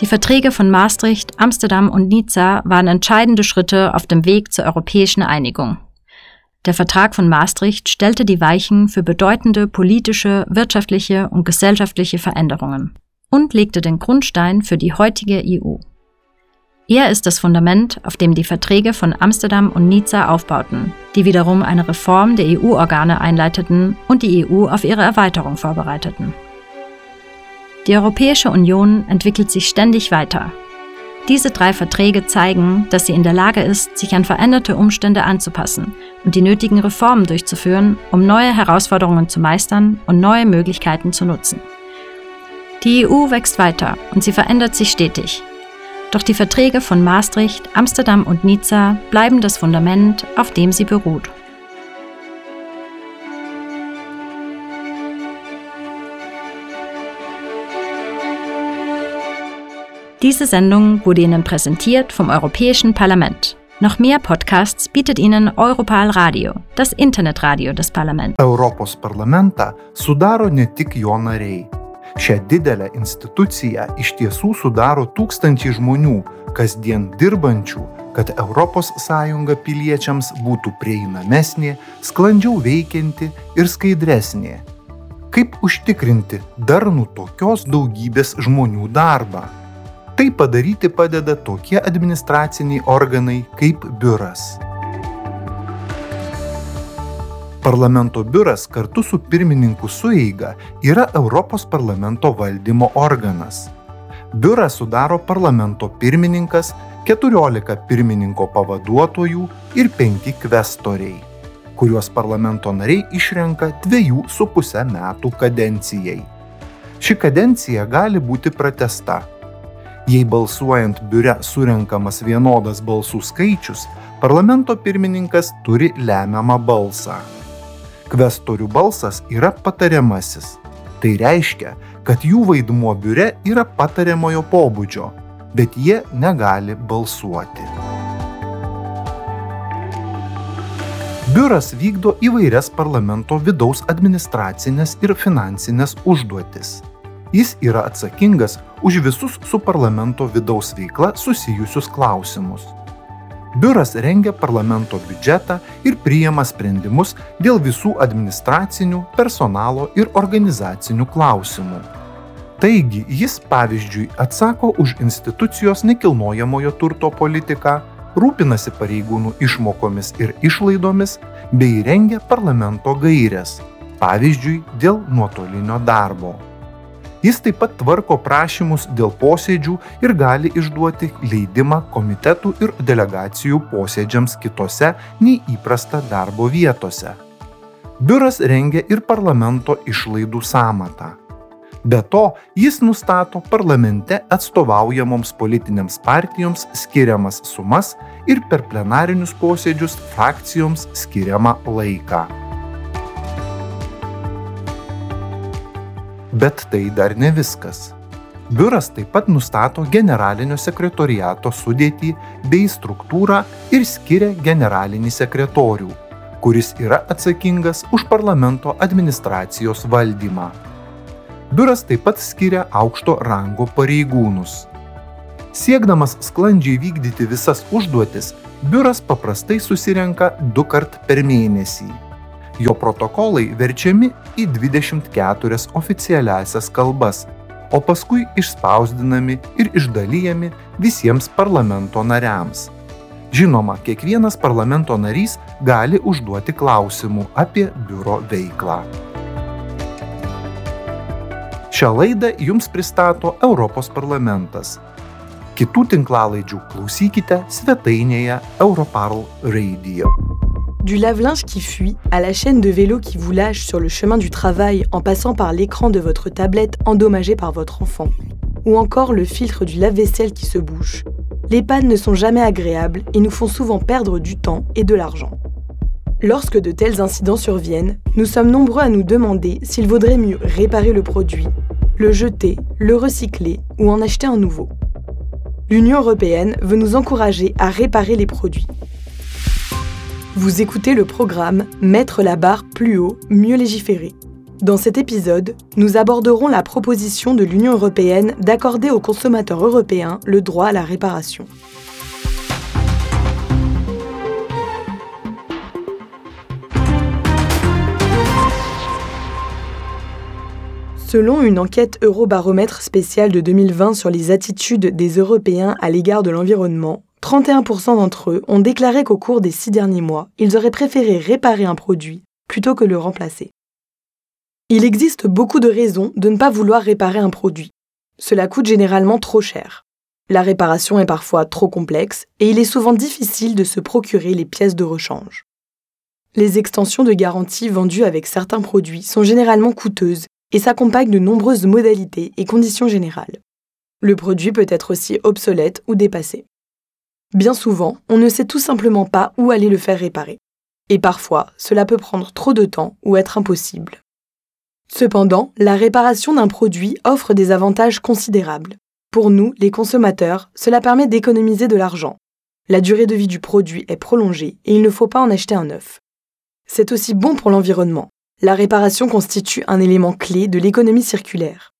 Die Verträge von Maastricht, Amsterdam und Nizza waren entscheidende Schritte auf dem Weg zur europäischen Einigung. Der Vertrag von Maastricht stellte die Weichen für bedeutende politische, wirtschaftliche und gesellschaftliche Veränderungen und legte den Grundstein für die heutige EU. Er ist das Fundament, auf dem die Verträge von Amsterdam und Nizza aufbauten, die wiederum eine Reform der EU-Organe einleiteten und die EU auf ihre Erweiterung vorbereiteten. Die Europäische Union entwickelt sich ständig weiter. Diese drei Verträge zeigen, dass sie in der Lage ist, sich an veränderte Umstände anzupassen und die nötigen Reformen durchzuführen, um neue Herausforderungen zu meistern und neue Möglichkeiten zu nutzen. Die EU wächst weiter und sie verändert sich stetig. Doch die Verträge von Maastricht, Amsterdam und Nizza bleiben das Fundament, auf dem sie beruht. Diese Sendung wurde Ihnen präsentiert vom Europäischen Parlament. Noch mehr Podcasts bietet Ihnen Europal Radio, das Internetradio des Parlaments. Europos parlamentą sudaro ne tik jo nariai. Šią didelę instituciją iš tiesų sudaro tūkstančiai žmonių, kasdien dirbančių, kad Europos Sąjunga piliečiams būtų prieinamesnė, sklandžiau veikianti ir skaidresnė. Kaip užtikrinti darnų tokios daugybės žmonių darbą? Tai padaryti padeda tokie administraciniai organai kaip biuras. Parlamento biuras kartu su pirmininkų sueiga yra Europos parlamento valdymo organas. Biurą sudaro parlamento pirmininkas, 14 pirmininko pavaduotojų ir 5 kvestoriai, kuriuos parlamento nariai išrenka 2,5 metų kadencijai. Ši kadencija gali būti pratęsta. Jei balsuojant biure surenkamas vienodas balsų skaičius, parlamento pirmininkas turi lemiamą balsą. Kvestorių balsas yra patariamasis. Tai reiškia, kad jų vaidmuo biure yra patariamojo pobūdžio, bet jie negali balsuoti. Biuras vykdo įvairias parlamento vidaus administracinės ir finansinės užduotis. Jis yra atsakingas už visus su parlamento vidaus veikla susijusius klausimus. Biuras rengia parlamento biudžetą ir priima sprendimus dėl visų administracinių, personalo ir organizacinių klausimų. Taigi jis, pavyzdžiui, atsako už institucijos nekilnojamojo turto politiką, rūpinasi pareigūnų išmokomis ir išlaidomis bei rengia parlamento gaires, pavyzdžiui, dėl nuotolinio darbo. Jis taip pat tvarko prašymus dėl posėdžių ir gali išduoti leidimą komitetų ir delegacijų posėdžiams kitose nei įprasta darbo vietose. Biuras rengia ir parlamento išlaidų sąmatą. Be to, jis nustato parlamente atstovaujamoms politinėms partijoms skiriamas sumas ir per plenarinius posėdžius frakcijoms skiriamą laiką. Bet tai dar ne viskas. Biuras taip pat nustato generalinio sekretoriato sudėtį bei struktūrą ir skiria generalinį sekretorių, kuris yra atsakingas už parlamento administracijos valdymą. Biuras taip pat skiria aukšto rango pareigūnus. Siekdamas sklandžiai vykdyti visas užduotis, biuras paprastai susirenka dukart per mėnesį. Jo protokolai verčiami į 24 oficialiąsias kalbas, o paskui išspausdinami ir išdalijami visiems parlamento nariams. Žinoma, kiekvienas parlamento narys gali užduoti klausimų apie biuro veiklą. Šią laidą jums pristato Europos parlamentas. Kitų tinklalaidžių klausykite svetainėje Europarl Radio. Du lave-linge qui fuit à la chaîne de vélo qui vous lâche sur le chemin du travail en passant par l'écran de votre tablette endommagé par votre enfant, ou encore le filtre du lave-vaisselle qui se bouche, les pannes ne sont jamais agréables et nous font souvent perdre du temps et de l'argent. Lorsque de tels incidents surviennent, nous sommes nombreux à nous demander s'il vaudrait mieux réparer le produit, le jeter, le recycler ou en acheter un nouveau. L'Union européenne veut nous encourager à réparer les produits. Vous écoutez le programme Mettre la barre plus haut, mieux légiférer. Dans cet épisode, nous aborderons la proposition de l'Union européenne d'accorder aux consommateurs européens le droit à la réparation. Selon une enquête Eurobaromètre spéciale de 2020 sur les attitudes des Européens à l'égard de l'environnement, 31% d'entre eux ont déclaré qu'au cours des 6 derniers mois, ils auraient préféré réparer un produit plutôt que le remplacer. Il existe beaucoup de raisons de ne pas vouloir réparer un produit. Cela coûte généralement trop cher. La réparation est parfois trop complexe et il est souvent difficile de se procurer les pièces de rechange. Les extensions de garantie vendues avec certains produits sont généralement coûteuses et s'accompagnent de nombreuses modalités et conditions générales. Le produit peut être aussi obsolète ou dépassé. Bien souvent, on ne sait tout simplement pas où aller le faire réparer. Et parfois, cela peut prendre trop de temps ou être impossible. Cependant, la réparation d'un produit offre des avantages considérables. Pour nous, les consommateurs, cela permet d'économiser de l'argent. La durée de vie du produit est prolongée et il ne faut pas en acheter un neuf. C'est aussi bon pour l'environnement. La réparation constitue un élément clé de l'économie circulaire.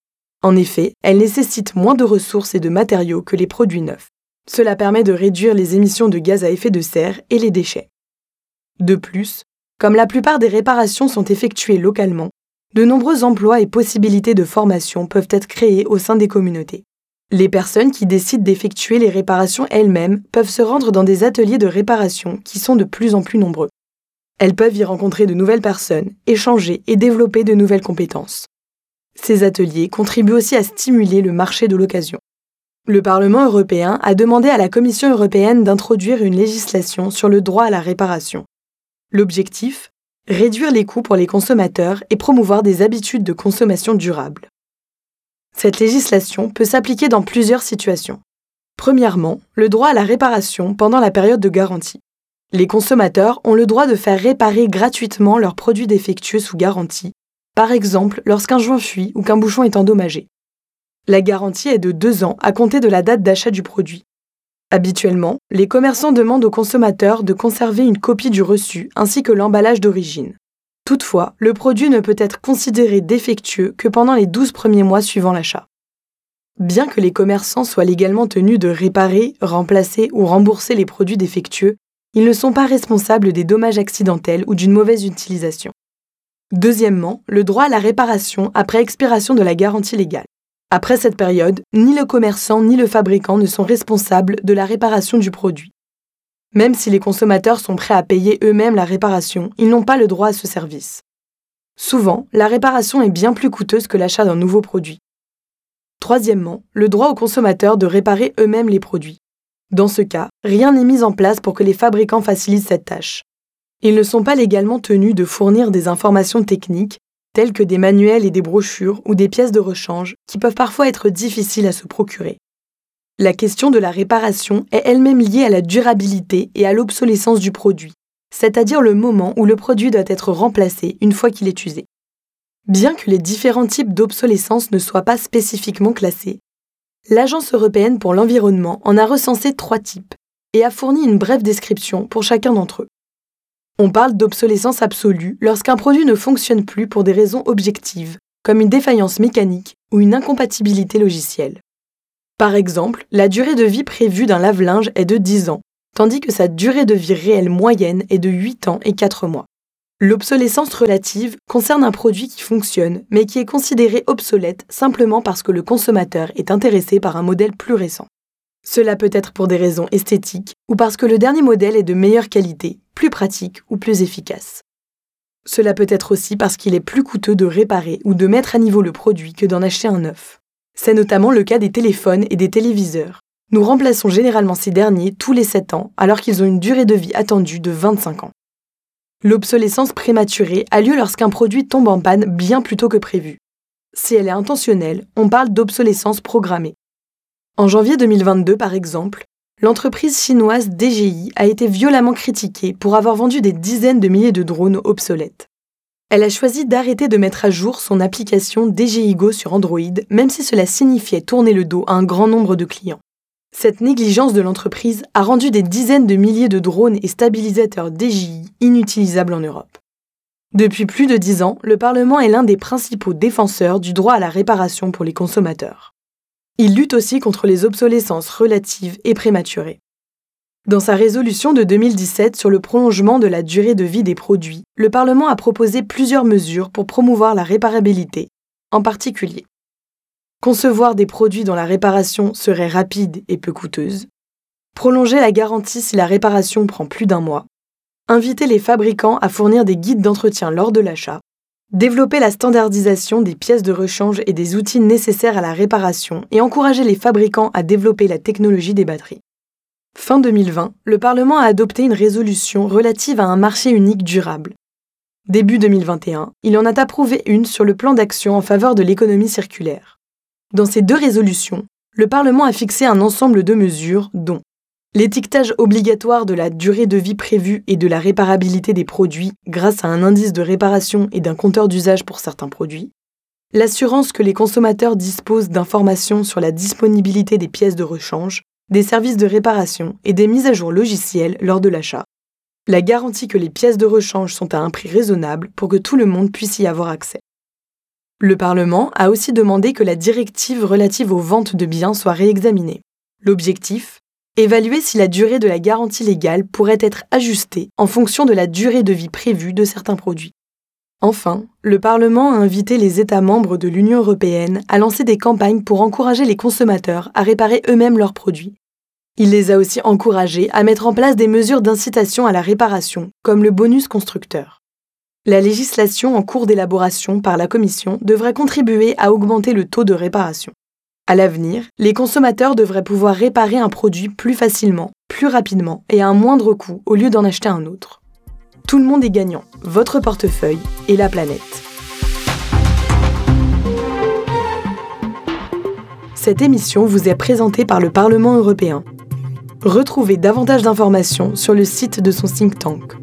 En effet, elle nécessite moins de ressources et de matériaux que les produits neufs. Cela permet de réduire les émissions de gaz à effet de serre et les déchets. De plus, comme la plupart des réparations sont effectuées localement, de nombreux emplois et possibilités de formation peuvent être créés au sein des communautés. Les personnes qui décident d'effectuer les réparations elles-mêmes peuvent se rendre dans des ateliers de réparation qui sont de plus en plus nombreux. Elles peuvent y rencontrer de nouvelles personnes, échanger et développer de nouvelles compétences. Ces ateliers contribuent aussi à stimuler le marché de l'occasion. Le Parlement européen a demandé à la Commission européenne d'introduire une législation sur le droit à la réparation. L'objectif ? Réduire les coûts pour les consommateurs et promouvoir des habitudes de consommation durables. Cette législation peut s'appliquer dans plusieurs situations. Premièrement, le droit à la réparation pendant la période de garantie. Les consommateurs ont le droit de faire réparer gratuitement leurs produits défectueux sous garantie, par exemple lorsqu'un joint fuit ou qu'un bouchon est endommagé. La garantie est de 2 ans à compter de la date d'achat du produit. Habituellement, les commerçants demandent aux consommateurs de conserver une copie du reçu ainsi que l'emballage d'origine. Toutefois, le produit ne peut être considéré défectueux que pendant les 12 premiers mois suivant l'achat. Bien que les commerçants soient légalement tenus de réparer, remplacer ou rembourser les produits défectueux, ils ne sont pas responsables des dommages accidentels ou d'une mauvaise utilisation. Deuxièmement, le droit à la réparation après expiration de la garantie légale. Après cette période, ni le commerçant ni le fabricant ne sont responsables de la réparation du produit. Même si les consommateurs sont prêts à payer eux-mêmes la réparation, ils n'ont pas le droit à ce service. Souvent, la réparation est bien plus coûteuse que l'achat d'un nouveau produit. Troisièmement, le droit aux consommateurs de réparer eux-mêmes les produits. Dans ce cas, rien n'est mis en place pour que les fabricants facilitent cette tâche. Ils ne sont pas légalement tenus de fournir des informations techniques, telles que des manuels et des brochures ou des pièces de rechange, qui peuvent parfois être difficiles à se procurer. La question de la réparation est elle-même liée à la durabilité et à l'obsolescence du produit, c'est-à-dire le moment où le produit doit être remplacé une fois qu'il est usé. Bien que les différents types d'obsolescence ne soient pas spécifiquement classés, l'Agence européenne pour l'environnement en a recensé 3 types et a fourni une brève description pour chacun d'entre eux. On parle d'obsolescence absolue lorsqu'un produit ne fonctionne plus pour des raisons objectives, comme une défaillance mécanique ou une incompatibilité logicielle. Par exemple, la durée de vie prévue d'un lave-linge est de 10 ans, tandis que sa durée de vie réelle moyenne est de 8 ans et 4 mois. L'obsolescence relative concerne un produit qui fonctionne, mais qui est considéré obsolète simplement parce que le consommateur est intéressé par un modèle plus récent. Cela peut être pour des raisons esthétiques ou parce que le dernier modèle est de meilleure qualité, plus pratique ou plus efficace. Cela peut être aussi parce qu'il est plus coûteux de réparer ou de mettre à niveau le produit que d'en acheter un neuf. C'est notamment le cas des téléphones et des téléviseurs. Nous remplaçons généralement ces derniers tous les 7 ans, alors qu'ils ont une durée de vie attendue de 25 ans. L'obsolescence prématurée a lieu lorsqu'un produit tombe en panne bien plus tôt que prévu. Si elle est intentionnelle, on parle d'obsolescence programmée. En janvier 2022, par exemple, l'entreprise chinoise DJI a été violemment critiquée pour avoir vendu des dizaines de milliers de drones obsolètes. Elle a choisi d'arrêter de mettre à jour son application DJI Go sur Android, même si cela signifiait tourner le dos à un grand nombre de clients. Cette négligence de l'entreprise a rendu des dizaines de milliers de drones et stabilisateurs DJI inutilisables en Europe. Depuis plus de dix ans, le Parlement est l'un des principaux défenseurs du droit à la réparation pour les consommateurs. Il lutte aussi contre les obsolescences relatives et prématurées. Dans sa résolution de 2017 sur le prolongement de la durée de vie des produits, le Parlement a proposé plusieurs mesures pour promouvoir la réparabilité, en particulier concevoir des produits dont la réparation serait rapide et peu coûteuse, prolonger la garantie si la réparation prend plus d'un mois, inviter les fabricants à fournir des guides d'entretien lors de l'achat, développer la standardisation des pièces de rechange et des outils nécessaires à la réparation et encourager les fabricants à développer la technologie des batteries. Fin 2020, le Parlement a adopté une résolution relative à un marché unique durable. Début 2021, il en a approuvé une sur le plan d'action en faveur de l'économie circulaire. Dans ces deux résolutions, le Parlement a fixé un ensemble de mesures dont l'étiquetage obligatoire de la durée de vie prévue et de la réparabilité des produits grâce à un indice de réparation et d'un compteur d'usage pour certains produits, l'assurance que les consommateurs disposent d'informations sur la disponibilité des pièces de rechange, des services de réparation et des mises à jour logicielles lors de l'achat, la garantie que les pièces de rechange sont à un prix raisonnable pour que tout le monde puisse y avoir accès. Le Parlement a aussi demandé que la directive relative aux ventes de biens soit réexaminée. L'objectif Évaluer si la durée de la garantie légale pourrait être ajustée en fonction de la durée de vie prévue de certains produits. Enfin, le Parlement a invité les États membres de l'Union européenne à lancer des campagnes pour encourager les consommateurs à réparer eux-mêmes leurs produits. Il les a aussi encouragés à mettre en place des mesures d'incitation à la réparation, comme le bonus constructeur. La législation en cours d'élaboration par la Commission devrait contribuer à augmenter le taux de réparation. À l'avenir, les consommateurs devraient pouvoir réparer un produit plus facilement, plus rapidement et à un moindre coût au lieu d'en acheter un autre. Tout le monde est gagnant, votre portefeuille et la planète. Cette émission vous est présentée par le Parlement européen. Retrouvez davantage d'informations sur le site de son think tank.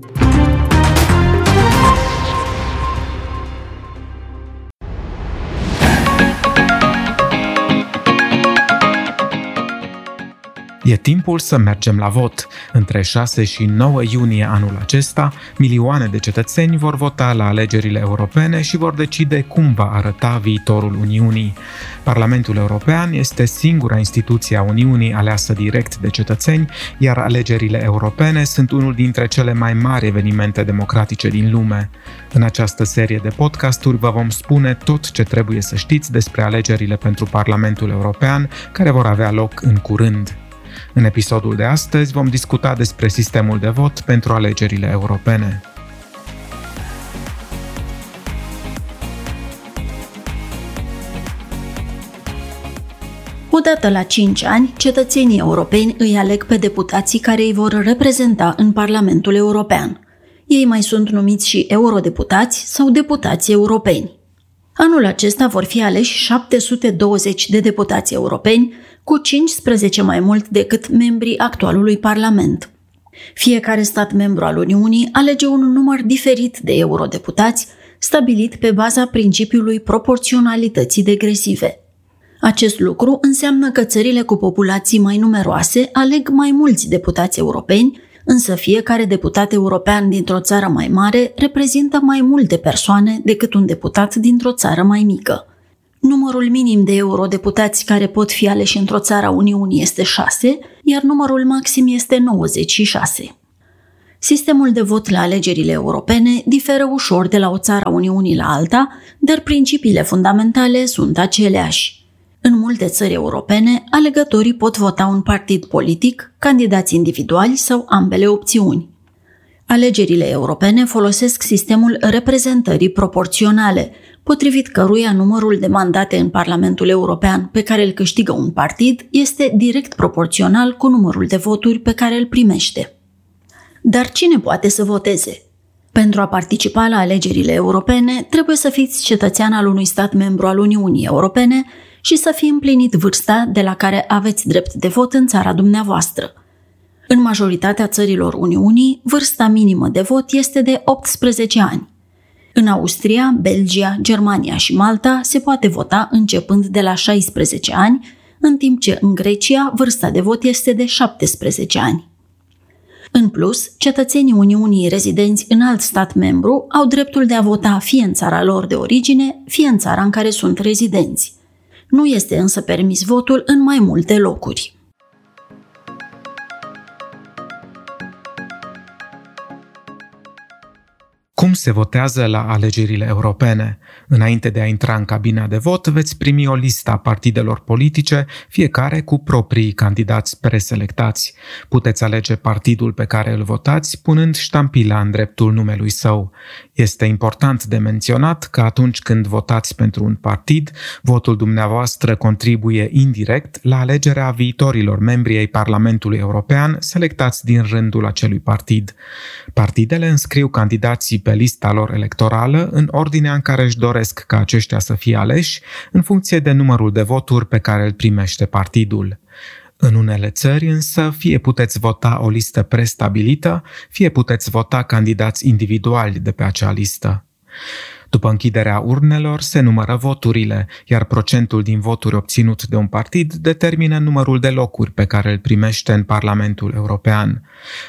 E timpul să mergem la vot. Între 6 și 9 iunie anul acesta, milioane de cetățeni vor vota la alegerile europene și vor decide cum va arăta viitorul Uniunii. Parlamentul European este singura instituție a Uniunii aleasă direct de cetățeni, iar alegerile europene sunt unul dintre cele mai mari evenimente democratice din lume. În această serie de podcasturi vă vom spune tot ce trebuie să știți despre alegerile pentru Parlamentul European, care vor avea loc în curând. În episodul de astăzi vom discuta despre sistemul de vot pentru alegerile europene. Odată la 5 ani, cetățenii europeni îi aleg pe deputații care îi vor reprezenta în Parlamentul European. Ei mai sunt numiți și eurodeputați sau deputați europeni. Anul acesta vor fi aleși 720 de deputați europeni, cu 15 mai mult decât membrii actualului Parlament. Fiecare stat membru al Uniunii alege un număr diferit de eurodeputați, stabilit pe baza principiului proporționalității degresive. Acest lucru înseamnă că țările cu populații mai numeroase aleg mai mulți deputați europeni, însă fiecare deputat european dintr-o țară mai mare reprezintă mai multe persoane decât un deputat dintr-o țară mai mică. Numărul minim de eurodeputați care pot fi aleși într-o țară a Uniunii este 6, iar numărul maxim este 96. Sistemul de vot la alegerile europene diferă ușor de la o țară a Uniunii la alta, dar principiile fundamentale sunt aceleași. În multe țări europene, alegătorii pot vota un partid politic, candidați individuali sau ambele opțiuni. Alegerile europene folosesc sistemul reprezentării proporționale, potrivit căruia numărul de mandate în Parlamentul European pe care îl câștigă un partid este direct proporțional cu numărul de voturi pe care îl primește. Dar cine poate să voteze? Pentru a participa la alegerile europene, trebuie să fiți cetățean al unui stat membru al Uniunii Europene și să fi împlinit vârsta de la care aveți drept de vot în țara dumneavoastră. În majoritatea țărilor Uniunii, vârsta minimă de vot este de 18 ani. În Austria, Belgia, Germania și Malta se poate vota începând de la 16 ani, în timp ce în Grecia vârsta de vot este de 17 ani. În plus, cetățenii Uniunii rezidenți în alt stat membru au dreptul de a vota fie în țara lor de origine, fie în țara în care sunt rezidenți. Nu este însă permis votul în mai multe locuri. Cum se votează la alegerile europene? Înainte de a intra în cabina de vot, veți primi o listă a partidelor politice, fiecare cu proprii candidați preselectați. Puteți alege partidul pe care îl votați, punând ștampila în dreptul numelui său. Este important de menționat că atunci când votați pentru un partid, votul dumneavoastră contribuie indirect la alegerea viitorilor membri ai Parlamentului European selectați din rândul acelui partid. Partidele înscriu candidații pe lista lor electorală în ordinea în care își doresc ca aceștia să fie aleși, în funcție de numărul de voturi pe care îl primește partidul. În unele țări însă, fie puteți vota o listă prestabilită, fie puteți vota candidați individuali de pe acea listă. După închiderea urnelor, se numără voturile, iar procentul din voturi obținut de un partid determină numărul de locuri pe care îl primește în Parlamentul European.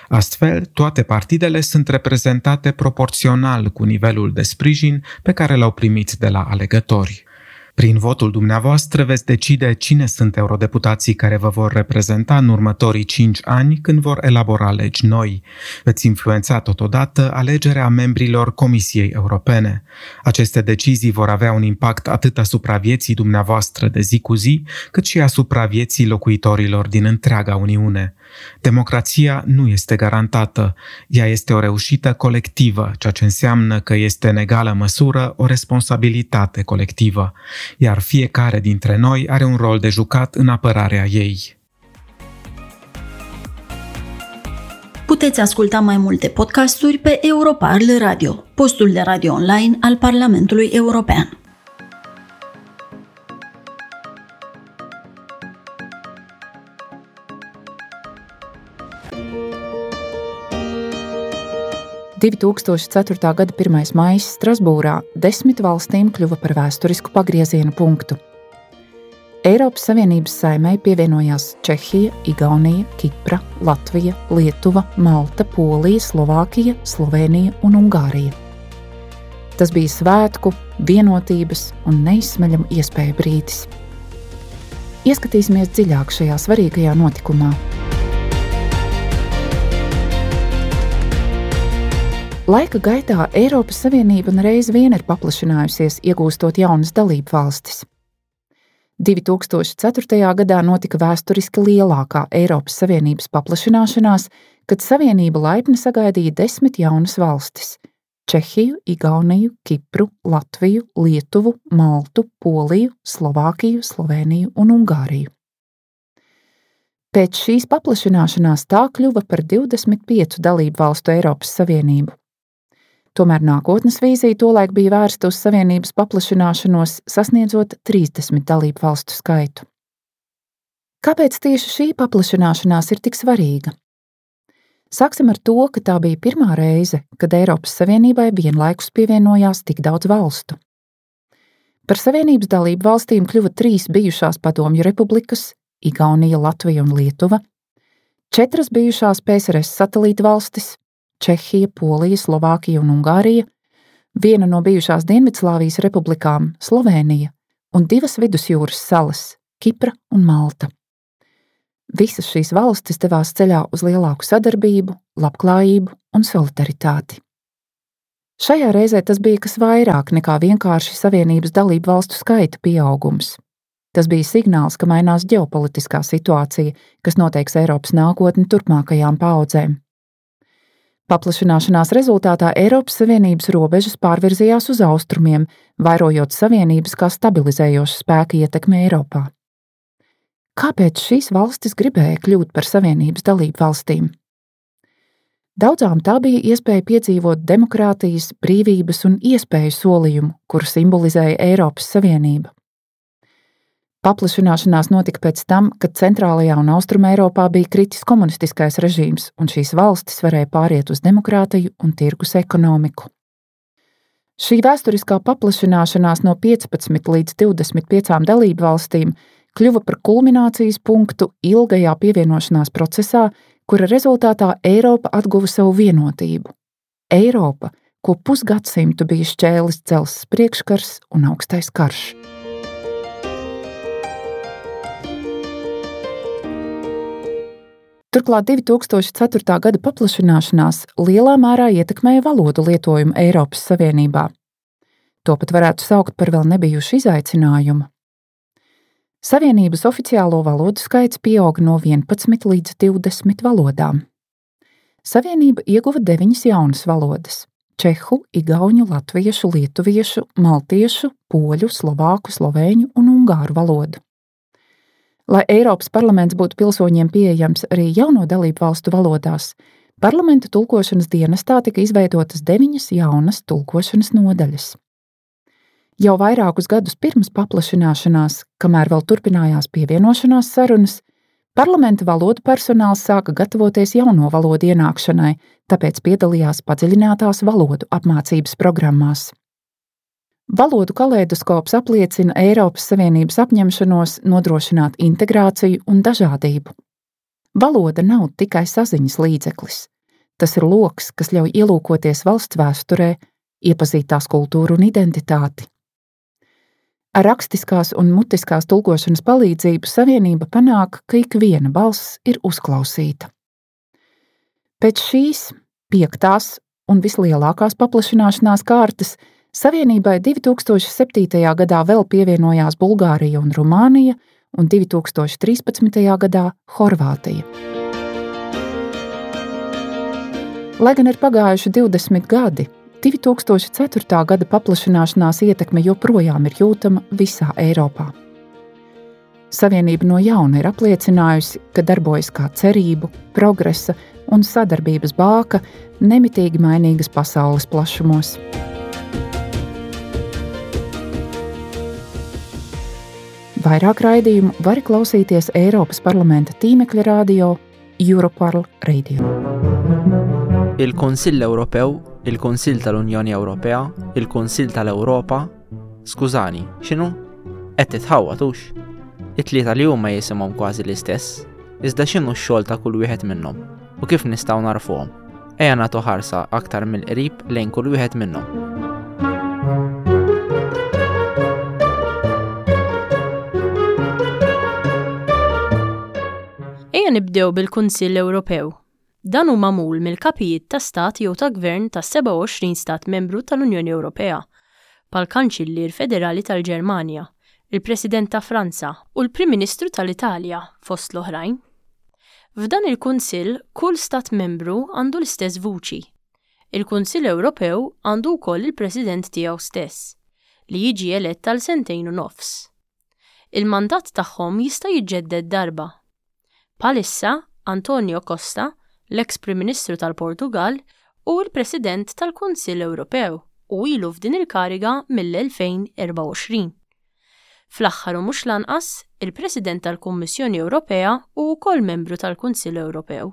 Astfel, toate partidele sunt reprezentate proporțional cu nivelul de sprijin pe care l-au primit de la alegători. Prin votul dumneavoastră veți decide cine sunt eurodeputații care vă vor reprezenta în următorii 5 ani când vor elabora legi noi. Veți influența totodată alegerea membrilor Comisiei Europene. Aceste decizii vor avea un impact atât asupra vieții dumneavoastră de zi cu zi, cât și asupra vieții locuitorilor din întreaga Uniune. Democrația nu este garantată, ea este o reușită colectivă, ceea ce înseamnă că este în egală măsură o responsabilitate colectivă, iar fiecare dintre noi are un rol de jucat în apărarea ei. Puteți asculta mai multe podcasturi pe Europarl Radio, postul de radio online al Parlamentului European. 2004. gada 1. maijs Strasbūrā 10 valstīm kļuva par vēsturisku pagrieziena punktu. Eiropas Savienības saimei pievienojās Čehija, Igaunija, Kipra, Latvija, Lietuva, Malta, Polija, Slovākija, Slovenija un Ungārija. Tas bija svētku, vienotības un neizsmeļamu iespēju brīdis. Ieskatīsimies dziļāk šajā svarīgajā notikumā. Laika gaitā Eiropas Savienība nereiz vien ir paplašinājusies, iegūstot jaunas dalību valstis. 2004. gadā notika vēsturiski lielākā Eiropas Savienības paplašināšanās, kad Savienība laipni sagaidīja 10 jaunas valstis - Čehiju, Igauniju, Kipru, Latviju, Lietuvu, Maltu, Poliju, Slovākiju, Sloveniju un Ungāriju. Pēc šīs paplašināšanās tā kļuva par 25 dalību valstu Eiropas Savienību. Tomēr nākotnes vīzija tolaik bija vērsta uz Savienības paplašināšanos, sasniedzot 30 dalību valstu skaitu. Kāpēc tieši šī paplašināšanās ir tik svarīga? Sāksim ar to, ka tā bija pirmā reize, kad Eiropas Savienībai vienlaikus pievienojās tik daudz valstu. Par Savienības dalību valstīm kļuva 3 bijušās padomju republikas - Igaunija, Latvija un Lietuva, 4 bijušās PSRS satelīta valstis - Čehija, Polija, Slovākija un Ungārija, viena no bijušās Dienvidslāvijas republikām - Slovenija un 2 vidusjūras salas - Kipra un Malta. Visas šīs valstis devās ceļā uz lielāku sadarbību, labklājību un solidaritāti. Šajā reizē tas bija kas vairāk nekā vienkārši Savienības dalību valstu skaita pieaugums. Tas bija signāls, ka mainās ģeopolitiskā situācija, kas noteiks Eiropas nākotni turpmākajām paaudzēm. Paplašināšanās rezultātā Eiropas Savienības robežas pārvirzījās uz austrumiem, vairojot Savienības kā stabilizējošu spēku ietekmi Eiropā. Kāpēc šīs valstis gribēja kļūt par Savienības dalību valstīm? Daudzām tā bija iespēja piedzīvot demokrātijas, brīvības un iespēju solījumu, kuru simbolizēja Eiropas Savienība. Paplašināšanās notika pēc tam, kad Centrālajā un Austrumē Eiropā bija kritis komunistiskais režīms, un šīs valstis varēja pāriet uz demokrātiju un tirgus ekonomiku. Šī vēsturiskā paplašināšanās no 15 līdz 25 dalību valstīm kļuva par kulminācijas punktu ilgajā pievienošanās procesā, kura rezultātā Eiropa atguva savu vienotību. Eiropa, ko pusgadsimtu bija šķēlis dzelzs priekškars un augstais karš. Turklāt 2004. gada paplašināšanās lielā mērā ietekmēja valodu lietojumu Eiropas Savienībā. To pat varētu saukt par vēl nebijušu izaicinājumu. Savienības oficiālo valodu skaits pieauga no 11 līdz 20 valodām. Savienība ieguva deviņas jaunas valodas - čehu, igauņu, latviešu, lietuviešu, maltiešu, poļu, slovāku, slovēņu un ungāru valodu. Lai Eiropas parlaments būtu pilsoņiem pieejams arī jauno dalību valstu valodās, parlamenta tulkošanas dienestā tika izveidotas deviņas jaunas tulkošanas nodaļas. Jau vairākus gadus pirms paplašināšanās, kamēr vēl turpinājās pievienošanās sarunas, parlamenta valodu personāls sāka gatavoties jauno valodu ienākšanai, tāpēc piedalījās padziļinātās valodu apmācības programmās. Valodu kaleidoskops apliecina Eiropas Savienības apņemšanos nodrošināt integrāciju un dažādību. Valoda nav tikai saziņas līdzeklis. Tas ir loks, kas ļauj ielūkoties valsts vēsturē, iepazīt tās kultūru un identitāti. Ar rakstiskās un mutiskās tulkošanas palīdzību Savienība panāk, ka ikviena balss ir uzklausīta. Pēc šīs piektās un vislielākās paplašināšanās kārtas Savienībai 2007. gadā vēl pievienojās Bulgārija un Rumānija, un 2013. gadā Horvātija. Lai gan ir pagājuši 20 gadi, 2004. gada paplašināšanās ietekme joprojām ir jūtama visā Eiropā. Savienība no jauna ir apliecinājusi, ka darbojas kā cerību, progresa un sadarbības bāka nemitīgi mainīgas pasaules plašumos. Vairāk raidījumu var klausīties Eiropas parlamenta tīmekļa rādio Europarl Radio. Il-Kunsill Ewropew, il-Kunsill tal-Unjoni Ewropea, il-Kunsill tal-Ewropa. Skużani, x'inhu? Qed titħawwad hux? It-tlieta li huma jisimhom kważi l-istess, iżda x'inhu x-xogħol ta' kull wieħed minnhom u kif nistgħu nagħrfuhom? Ejja nagħtu ħarsa aktar mill-qrib lejn kull wieħed minnhom. Ejja nibdew bil-Kunsill Ewropew. Dan hu magħmul mill-kapijiet ta' stat jew ta' gvern tas-27 stat membru tal-Unjoni Ewropea, bħall-Kanċillier Federali tal-Ġermanja, il-President ta' Franza u l-Prim Ministru tal-Italja, fost l-oħrajn. F'dan il-Kunsill kull stat membru għandu l-istess vuċi. Il-Kunsill Ewropew għandu wkoll il-President tiegħu stess, li jiġi elett għal sentejn u nofs. Il-mandat tagħhom jista' jiġġedded darba. Bħalissa, Antonio Costa, l-eks Prim Ministru tal-Portugall, hu l-President tal-Kunsill Ewropew u ilu f'din il-kariga mill-2024. Fl-aħħar u mhux l-anqas, il-President tal-Kummissjoni Ewropea hu wkoll membru tal-Kunsill Ewropew.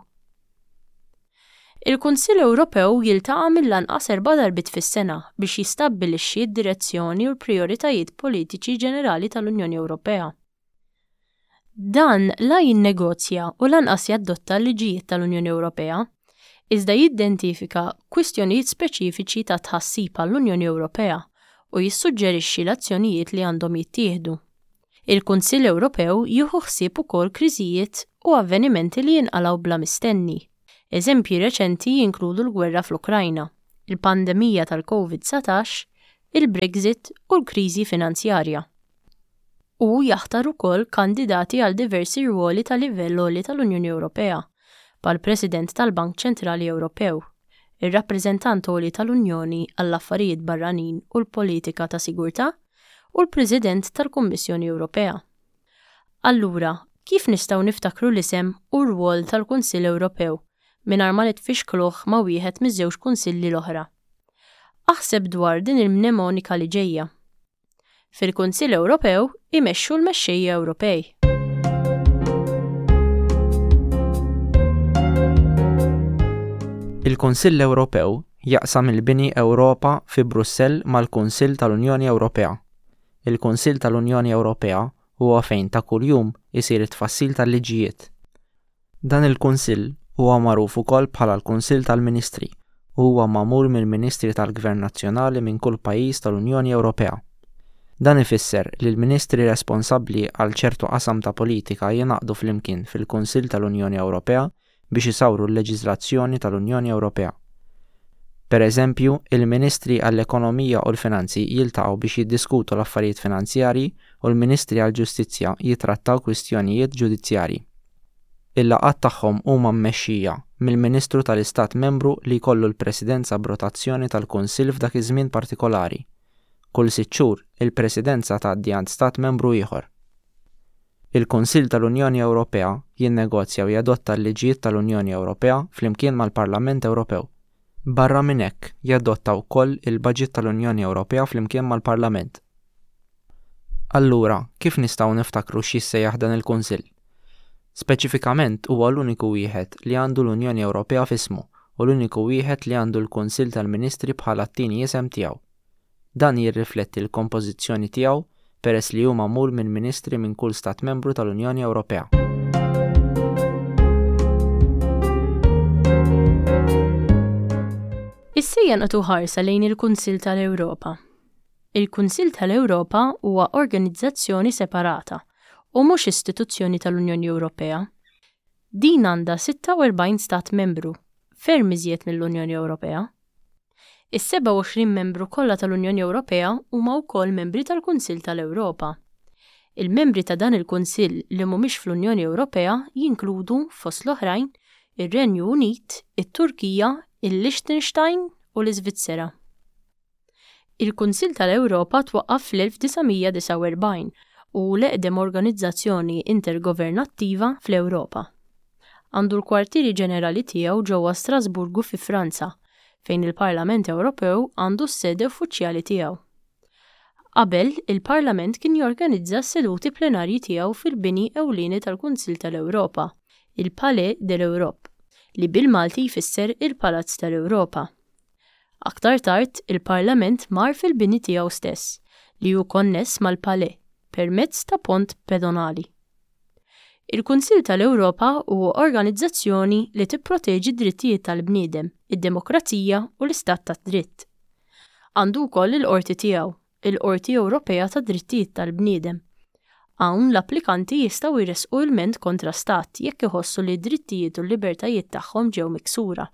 Il-Kunsill Ewropew jiltaqa' mill-anqas erba' darbiet fis-sena biex jistabbilixxi d-direzzjoni u l-prijoritajiet politiċi ġenerali tal-Unjoni Ewropea. Dan la jinnegozja u lanqas jadotta l-liġijiet tal-Unjoni Ewropea, iżda jiddentifika kwistjonijiet speċifiċi ta' tħassib għall-Unjoni Ewropea u jissuġġerixxi l-azzjonijiet li għandhom jittieħdu. Il-Kunsill Ewropew jieħu ħsieb ukoll kriżijiet u avvenimenti li jinqalgħu bla mistenni. Eżempji reċenti jinkludu l-gwerra fl-Ukrajna, il-pandemija tal-Covid-19, il-Brexit u l-kriżi finanzjarja. Hu jaħtar ukoll kandidati għal diversi rwoli ta' livell għoli tal-Unjoni Ewropea, bħall-President tal-Bank Ċentrali Ewropew, ir-Rappreżentant Għoli tal-Unjoni għall-Affarijiet Barranin u l-Politika ta' Sigurtà, u l-President tal-Kummissjoni Ewropea. Allura, kif nistgħu niftakru l-isem u r-rwol tal-Kunsill Ewropew mingħajr ma nitfixkluh ma' wieħed miż-żewġ kunsilli l-oħra? Aħseb dwar din il-mnemonika li ġejja. Fil-Kunsill Ewropew imexxu l-mexxejja Ewropej. Il-Kunsill Ewropew jaqsam il-bini Ewropa fi Brussell mal-Kunsill tal-Unjoni Ewropea. Il-Kunsill tal-Unjoni Ewropea huwa fejn ta' kuljum isir it-tfassil tal-liġijiet. Dan il-Kunsill Huwa magħruf ukoll bħala l-Kunsill tal-Ministri u huwa magħmul mill-ministri tal-gvern nazzjonali minn kull pajjiż tal-Unjoni Ewropea. Dan ifisser li l-ministri responsabbli għal ċertu qasam ta' politika jingħaqdu flimkien fil-Kunsill tal-Unjoni Ewropea biex isawru l-leġiżlazzjoni tal-Unjoni Ewropea. Per eżempju, il-ministri għall-ekonomija u l-finanzi jiltaqgħu biex jiddiskutu l-affarijiet finanzjarji u l-ministri għall-ġustizzja jittrattaw kwistjonijiet ġudizzjarji. Il-laqgħat tagħhom huma mmexxija mill-ministru tal-Istat Membru li jkollu l-presidenza b'rotazzjoni tal-Kunsill f'dak iż-żmien partikolari. Kull sitt xhur, il-presidenza tgħaddi għand Stat Membru ieħor. Il-Kunsill tal-Unjoni Ewropea jinnegozja u jadotta l-liġijiet tal-Unjoni Ewropea flimkien mal-Parlament Ewropew. Barra minn hekk, jadotta wkoll il-baġit tal-Unjoni Ewropea flimkien mal-Parlament. Allura, kif nistgħu niftakru x'jissejjaħ dan il-Kunsill? Speċifikament huwa l-uniku wieħed li għandu l-Unjoni Ewropea f'ismu u l-uniku wieħed li għandu l-Kunsill tal-Ministri bħala t-tieni isem tiegħu. Dan jirrifletti l-kompożizzjoni tiegħu peress li hu magħmul minn ministri minn kull Stat Membru tal-Unjoni Ewropea. Issa ejja nagħtu ħarsa lejn il-Kunsill tal-Ewropa. Il-Kunsill tal-Ewropa huwa organizzazzjoni separata u mhux istituzzjoni tal-Unjoni Ewropea. Din għandha 46 stat membru, ferm iżjed mill-Unjoni Ewropea. Is-27 membru kollha tal-Unjoni Ewropea huma wkoll membri tal-Kunsill tal-Ewropa. Il-membri ta' dan il-Kunsill li mhumiex fl-Unjoni Ewropea jinkludu, fost l-oħrajn, ir-Renju Unit, it-Turkija, il-Liechtenstein u l-Iżvizzera. Il-Kunsill tal-Ewropa twaqqaf fl-1949 u hu l-eqdem organizzazzjoni intergovernattiva fl-Ewropa. Għandu l-kwartieri ġenerali tiegħu ġewwa Strasburgu fi Franza, fejn il-Parlament Ewropew għandu s-sede uffiċjali tiegħu. Qabel, il-Parlament kien jorganizza s-seduti plenarji tiegħu fil-bini ewlieni tal-Kunsill tal-Ewropa, il-Palais de l'Europe, li bil-Malti jfisser il-Palazz tal-Ewropa. Aktar tard, il-Parlament mar fil-bini tiegħu stess, li hu konness mal-Palais permezz ta' pont pedonali. Il-Kunsill tal-Ewropa huwa organizzazzjoni li tipproteġi d-drittijiet tal-bniedem, id-demokrazija u l-istat tad-dritt. Għandu wkoll il-qorti tiegħu, il-Qorti Ewropea tad-Drittijiet tal-Bniedem. Hawn l-applikanti jistgħu jressqu ilment kontra stat jekk iħossu li d-drittijiet u l-libertajiet tagħhom ġew miksura.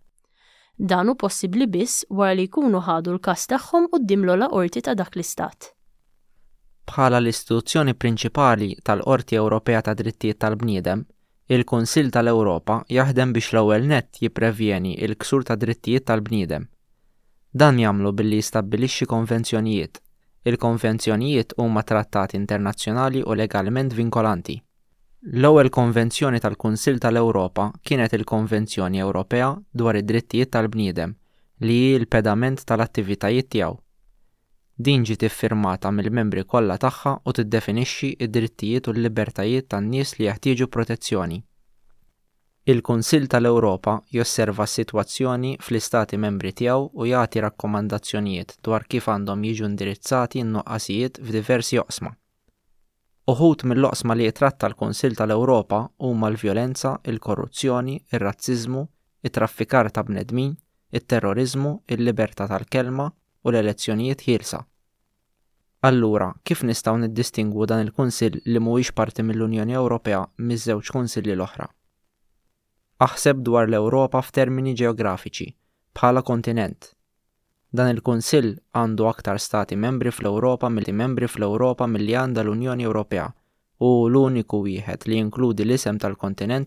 Dan hu possibbli biss wara li jkunu ħadu l-każ tagħhom quddiem l-ogħla qorti ta' dak l-istat. Bħala l-istituzzjoni prinċipali tal-Qorti Ewropea tad-Drittijiet tal-Bniedem, il-Kunsill tal-Ewropa jaħdem biex l-ewwel nett jipprevjeni l-ksur tad-drittijiet tal-bniedem. Dan jagħmlu billi jistabbilixxi konvenzjonijiet. Il-konvenzjonijiet huma trattati internazzjonali u legalment vinkolanti. L-ewwel konvenzjoni tal-Kunsill tal-Ewropa kienet il-Konvenzjoni Ewropea dwar id-Drittijiet tal-Bniedem li hi l-pedament tal-attivitajiet tiegħu. Din ġiet iffirmata mill-membri kollha tagħha u tiddefinixxi d-drittijiet u l-libertajiet tan-nies li jeħtieġu protezzjoni. Il-Kunsill tal-Ewropa josserva s-sitwazzjoni fl-Istati Membri tiegħu u jagħti rakkomandazzjonijiet dwar kif għandhom jiġu indirizzati n-nuqqasijiet f'diversi oqsma. Uħud mill-oqsma li jitratta l-Kunsill tal-Ewropa huma l-vjolenza, il-korruzzjoni, ir-razziżmu, it-traffikar ta' bnedmin, it-terroriżmu, il-libertà tal-kelma u l-elezzjonijiet ħielsa. Allura, kif nistgħu niddistingwu dan il-Kunsill li mhuwiex parti mill-Unjoni Ewropea miż-żewġ Kunsilli l-oħra? Aħseb dwar l-Ewropa f'termini ġeografiċi, bħala kontinent. Dan il-Kunsill għandu aktar Stati Membri fl-Ewropa milli membri fl-Ewropa milli għandha l-Unjoni Ewropea u hu l-uniku wieħed li jinkludi l-isem tal-kontinent.